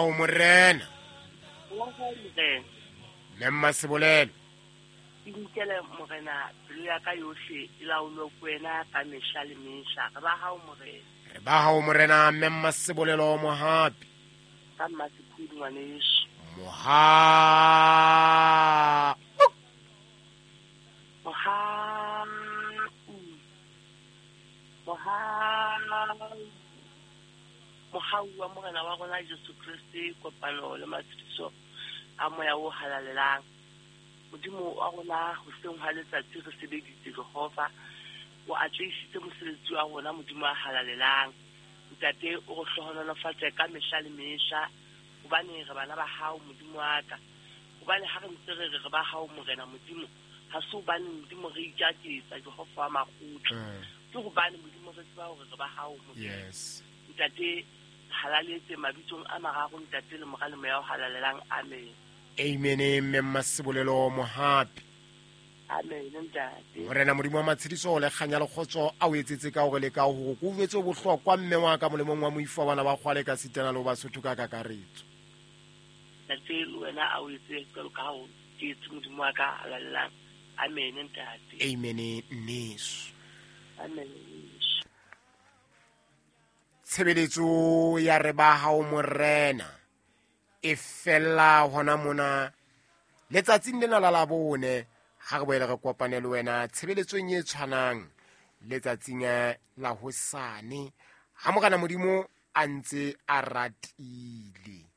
O morena. Wa hao morena. Mme Mmasebolelo. Inkele morena pelo ya ka yohle e laolwe ke wena ka mehla le mehla. Re ba hao morena. Re ba hao morena Mme Mmasebolelo Mohapi. Ka Mmasephudi ngwaneso. Moha. Mohau. Mohau. Mohau wa Morena wa rona Jesu Kreste, kopano le matshediso a moya o halalelang. Modimo wa rona hoseng hwa letsatsi re sebeditse Jehova, o atlehisitse mosebetsi wa rona Modimo a halalelang. Ntate o re hlohonolofatse ka mehla le mehla, hobane re bana ba hao Modimo wa ka. Hobane ha re ntse re re re ba hao Morena Modimo, ha se hobane Modimo re itjaketsa Jehova wa makgotla. Ke hobane Modimo re tseba hore re ba hao Modimo. Yes. Ntate, halaletse mabitsong a mararo Ntate le Mora le Moya o halalelang. Amen. Amen. Mme Mmasebolelo Mohapi. Amen ntate. Morena Modimo wa matshediso le kganya le kgotso a o etsetse ka hore le ka hore ko uetse bohlokwa mme wa ka molemong wa moifo wa bana ba kgwale ka sitana le ho Basotho ka kakaretso. Ntate le wena a o etse jwalo ka ha o etse Modimo wa ka halalelang. Amen ntate. Amen nneso. Amen. Tshebeletso ya re ba hao morena e fella hona mona letsatsing lena la Labone. Ha re boele re kopane le wena tshebeletsong e tshwanang letsatsing la hosane ha Morena Modimo a ntse a ratile.